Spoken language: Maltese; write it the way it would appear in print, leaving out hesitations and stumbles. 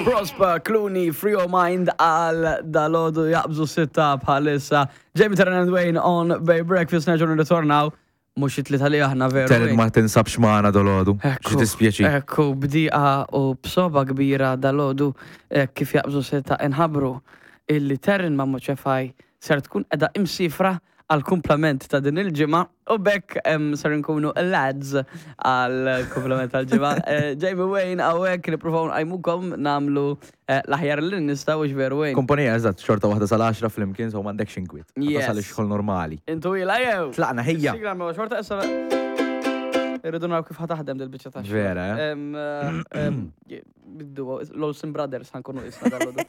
Prosper Clooney, Free Your Mind għal dalodu jaqbżu sitta bħalissa. Jamie Terran and Wayne on Bay Breakfast nerġgħu nirritornaw mhux it-tlieta li aħna veru. Terran ma tinsabx magħna dalodu. Xi dispjaċi. Ekku, bdiqa u b'soba kbira dalodu kif jaqbżu sitta inħabru illi Terran ma' Moċefaj ser tkun edha imsifra għal kumplament ta' din il-ġimgħa u bekk ser nkunu lads għal kumplament tal-ġimgħa. Eh, Jamie Wayne hawnhekk nippruvaw nqajmukom nagħmlu eh, l-aħjar li nistgħu veru Wayne. Kumpanija eżatt xorta waħda sal-10 flimkien so m'għandekx inkwiet. Tasal ix-xogħol normali. Intu ila jew. Tlaqna ħejja. Sigla ma xorta issa Irridu naraw kif ħataħdem dil-biċċa ta' Vera, eh? Biddu, l-Olsen Brothers ħankunu isna dal-għodu.